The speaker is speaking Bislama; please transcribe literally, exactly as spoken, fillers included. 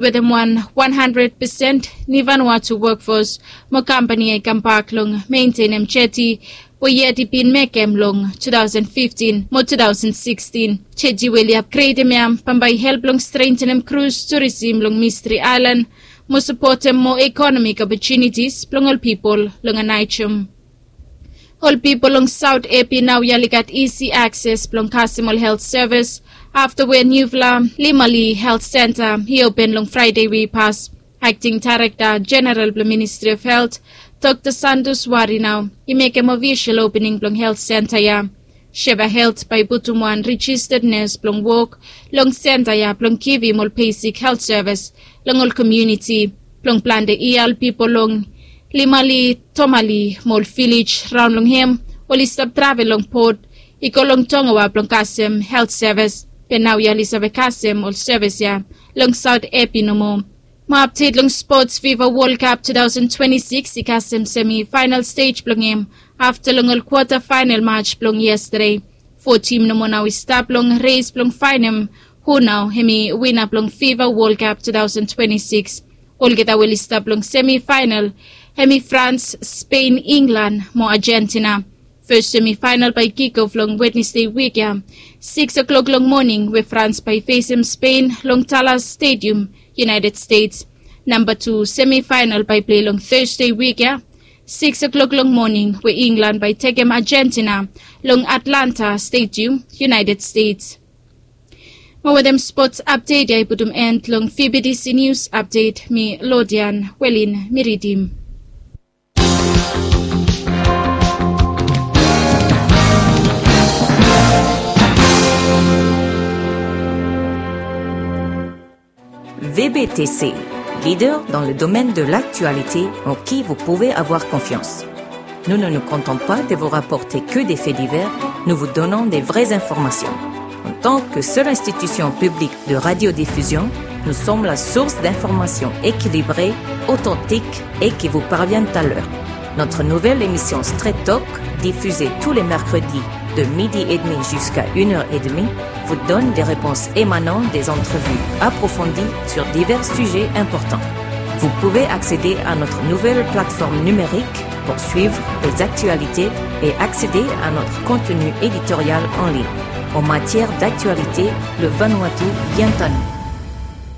Wetem wan wan handred pesen ni Vanuatu wokfos mo kampani ya i kambak long mentenem jeti we yet i bin mekem long two thousand fifteen mo two thousand sixteen. Jeti we oli apgredem ya bambae i help long strentenem krus turisim long Mistri Aelan mo sapotem moa ekonomik opotunitis blong ol pipol long Anaijum. Ol pipol long Saot Epi naoia oli gat isi akses blong kasem ol helt sevis afta we niufala Limali Helt Senta i open long Fraede we i pas. Akting Daerekta Jeneral blong Ministri of Helt, Dokta Santos Wari nao i mekem ofisol opening blong helt senta ya. Seva Helt bae i putum wan rejisted nes blong wok long senta ya blong givim ol besik helt sevis long ol komuniti. Blong plante yia ol pipol long Limali, Tomali mo ol vilej raon long hem oli stap travel long bot i go long Tongawa blong kasem helt sevis. Be naoia oli save kasem ol sevis ya long Saot Epi nomo. Mo apdet long spots, Fifa Wol Kap two thousand twenty-six i kasem semi faenal stej blong hem afta long ol kwata faenal maj blong yestade. Fo tim nomo nao i stap long res blong faenem hu nao hem i wina blong Fifa Wol Kap two thousand twenty-six. Olgeta we oli stap long semi faenal hem i Frans, Spen, Inglan mo Ajentina. Fes semi faenal bae i kikof long Wednesde wik ya, sikis klok long moning, we Frans bae i fesem Spen long Dallas Stadium, United States. Namba tu semi faenal bae i plei long Tasde wik ya, sikis klok long moning, we Inglan bae i tekem Ajentina long Atlanta Stadium, United States. Mo wetem spots apdet ya i putum en long V B T C Nius Apdet, mi Lodian Welin mi ridim. V B T C, leader dans le domaine de l'actualité en qui vous pouvez avoir confiance. Nous ne nous contentons pas de vous rapporter que des faits divers, nous vous donnons des vraies informations. En tant que seule institution publique de radiodiffusion, nous sommes la source d'informations équilibrées, authentiques et qui vous parviennent à l'heure. Notre nouvelle émission Straight Talk, diffusée tous les mercredis de midi et demi jusqu'à une heure et demie, vous donne des réponses émanant des entrevues approfondies sur divers sujets importants. Vous pouvez accéder à notre nouvelle plateforme numérique pour suivre les actualités et accéder à notre contenu éditorial en ligne. En matière d'actualité, le Vanuatu vient à nous.